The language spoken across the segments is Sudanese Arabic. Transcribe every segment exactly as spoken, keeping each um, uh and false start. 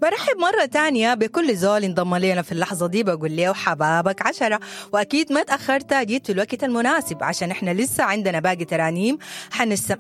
برحب مرة تانية بكل زول انضم لنا في اللحظة دي، بقول له حبابك عشرة، وأكيد ما تأخرت، جيت في الوقت المناسب عشان احنا لسه عندنا باقي ترانيم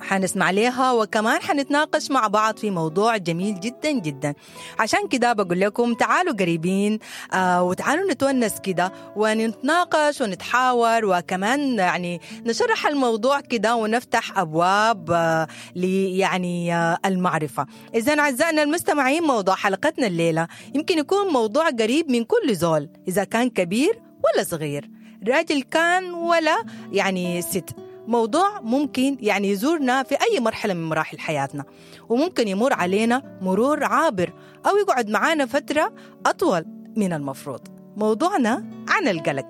حنسمع لها، وكمان حنتناقش مع بعض في موضوع جميل جدا جدا. عشان كده بقول لكم تعالوا قريبين آه وتعالوا نتونس كده ونتناقش ونتحاور، وكمان يعني نشرح الموضوع كده ونفتح أبواب آه يعني آه المعرفة. إذن أعزائنا المستمعين، موضوع حلقة حلقتنا الليلة يمكن يكون موضوع قريب من كل زول، إذا كان كبير ولا صغير، راجل كان ولا يعني ست. موضوع ممكن يعني يزورنا في أي مرحلة من مراحل حياتنا، وممكن يمر علينا مرور عابر أو يقعد معانا فترة أطول من المفروض. موضوعنا عن القلق.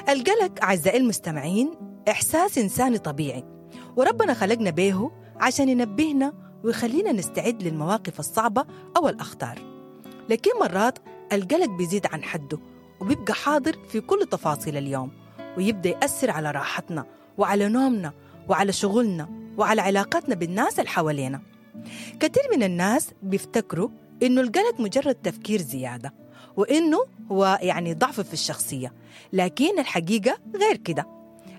القلق أعزائي المستمعين إحساس إنساني طبيعي، وربنا خلقنا به عشان ينبهنا ويخلينا نستعد للمواقف الصعبة أو الأخطار. لكن مرات القلق بيزيد عن حده وبيبقى حاضر في كل تفاصيل اليوم، ويبدأ يأثر على راحتنا وعلى نومنا وعلى شغلنا وعلى علاقاتنا بالناس اللي حوالينا. كثير من الناس بيفتكروا إنه القلق مجرد تفكير زيادة، وإنه هو يعني ضعف في الشخصية، لكن الحقيقة غير كده.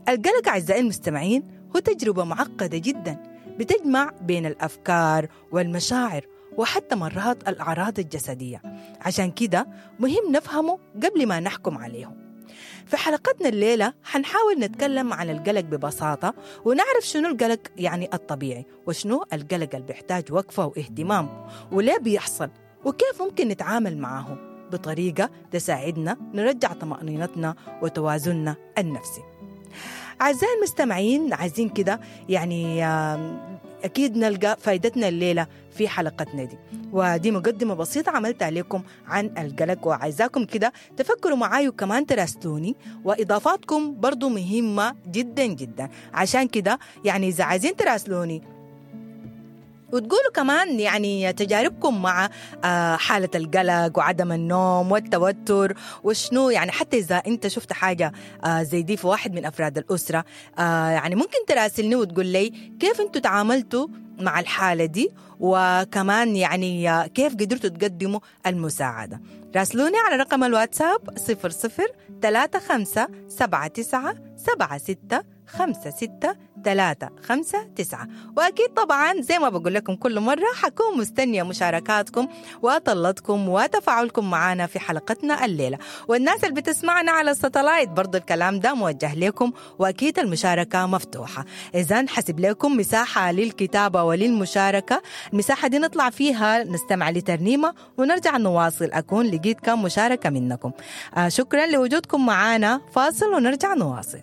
القلق أعزائي المستمعين هو تجربة معقدة جداً بتجمع بين الأفكار والمشاعر وحتى مرات الأعراض الجسدية. عشان كده مهم نفهمه قبل ما نحكم عليه. في حلقتنا الليلة حنحاول نتكلم عن القلق ببساطة، ونعرف شنو القلق يعني الطبيعي، وشنو القلق اللي بيحتاج وقفة واهتمام، وليه بيحصل، وكيف ممكن نتعامل معه بطريقة تساعدنا نرجع طمأنينتنا وتوازننا النفسي. أعزائي المستمعين، عايزين كده يعني أكيد نلقى فايدتنا الليلة في حلقتنا دي، ودي مقدمة بسيطة عملتها لكم عن القلق، وعايزاكم كده تفكروا معاي وكمان تراسلوني، وإضافاتكم برضو مهمة جدا جدا. عشان كده يعني إذا عايزين تراسلوني وتقولوا كمان يعني تجاربكم مع حالة القلق وعدم النوم والتوتر وشنو، يعني حتى إذا أنت شفت حاجة زي دي في واحد من أفراد الأسرة، يعني ممكن تراسلني وتقول لي كيف أنتوا تعاملتوا مع الحالة دي، وكمان يعني كيف قدرتوا تقدموا المساعدة. راسلوني على رقم الواتساب صفر صفر ثلاثة خمسة سبعة تسعة سبعة ستة خمسة ستة ثلاثة خمسة تسعة. وأكيد طبعا زي ما بقول لكم كل مرة حكون مستنية مشاركاتكم وطلتكم وتفاعلكم معنا في حلقتنا الليلة. والناس اللي بتسمعنا على الساتلايت برضو الكلام ده موجه لكم، وأكيد المشاركة مفتوحة. إذن حسب لكم مساحة للكتابة وللمشاركة، المساحة دي نطلع فيها نستمع لترنيمة ونرجع نواصل. أكون لقيت كم مشاركة منكم. آه شكرا لوجودكم معنا. فاصل ونرجع نواصل.